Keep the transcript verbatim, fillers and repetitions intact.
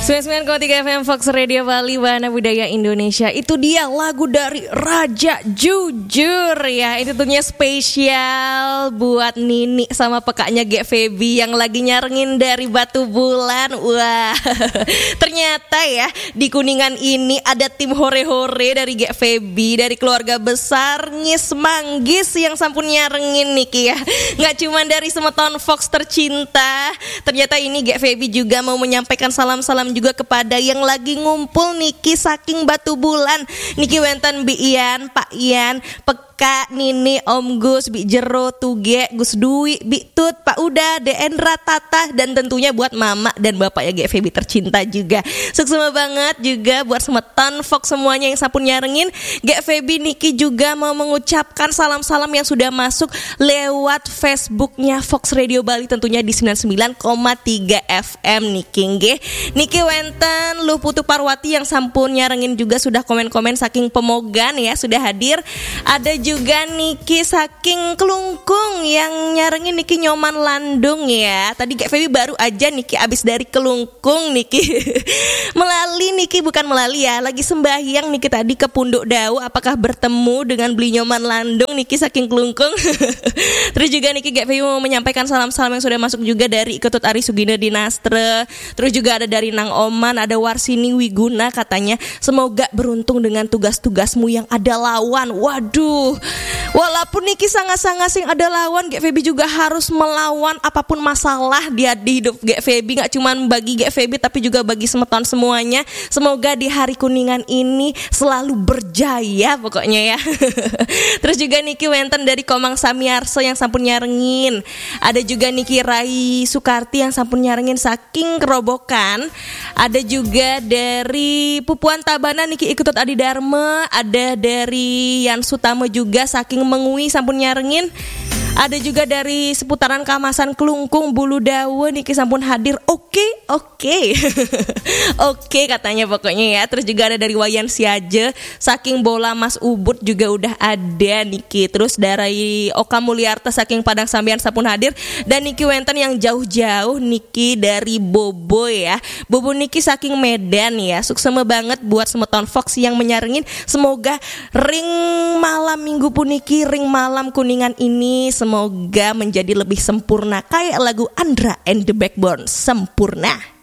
Sembilan sembilan koma tiga F M Fox Radio Bali, Wahana Budaya Indonesia. Itu dia lagu dari Raja Jujur ya. Itu tentunya spesial buat Nini sama pekaknya Gek Feby yang lagi nyarengin dari Batu Bulan. Wah, ternyata ya di Kuningan ini ada tim hore-hore dari Gek Feby, dari keluarga besar Ngis Manggis yang sampun nyarengin niki ya. Nggak cuman dari semeton Fox tercinta, ternyata ini Gek Feby juga mau menyampaikan salam-salam juga kepada yang lagi ngumpul niki saking Batu Bulan. Niki wenten Bi Ian, Pak Ian, Peka, Nini, Om Gus, Bi Jero, Tuge, Gus Dwi, Bi Tut, Pak Uda, De Endra, Tata, dan tentunya buat Mama dan Bapak ya Gek Feby tercinta juga. Suksma banget juga buat semeton Fox semuanya yang sampun nyarengin. Gek Feby niki juga mau mengucapkan salam-salam yang sudah masuk lewat Facebooknya Fox Radio Bali, tentunya di sembilan sembilan koma tiga F M niki nggih. Niki wenten Luh Putu Parwati yang sampun nyarengin juga sudah komen-komen saking Pemogan ya, sudah hadir. Ada juga niki saking Kelungkung yang nyarengin niki Nyoman Landung ya. Tadi Gek Feby baru aja niki abis dari Kelungkung niki. Melali niki bukan melali ya, lagi sembahyang niki tadi ke Punduk Dau, apakah bertemu dengan Beli Nyoman Landung niki saking Kelungkung. Terus juga niki Gek Feby mau menyampaikan salam-salam yang sudah masuk juga dari Ketut Ari Sugina Dinastre. Terus juga ada dari Nang Oman, ada Warsini Wiguna katanya, semoga beruntung dengan tugas-tugasmu yang ada lawan. Waduh, walaupun niki sangat-sangat sing ada lawan, Gek Feby juga harus melawan apapun masalah dia di hidup Gek Feby. Nggak cuman bagi Gek Feby tapi juga bagi semeton semuanya. Semoga di hari Kuningan ini selalu berjaya pokoknya ya. Terus juga niki wenten dari Komang Samiarso yang sampun nyarengin. Ada juga niki Rai Sukarti yang sampun nyarengin saking Kerobokan. Ada juga dari Pupuan Tabanan niki Ikutut Adi Dharma. Ada dari Yan Sutama juga saking Mengwi sampun nyarengin. Ada juga dari seputaran Kamasan Kelungkung Bulu Dawa niki sampun hadir. Oke, oke. Oke katanya pokoknya ya. Terus juga ada dari Wayan Siaje, saking Bola Mas Ubud juga udah ada niki. Terus dari Oka Mulyarta saking Padang Sambian sampun hadir. Dan niki wenten yang jauh-jauh niki dari Bobo ya. Bobo niki saking Medan ya. Suksma banget buat semeton Fox yang menyarengin. Semoga ring malam minggu puniki, ring malam Kuningan ini semoga menjadi lebih sempurna kayak lagu Andra and the Backbone, Sempurna.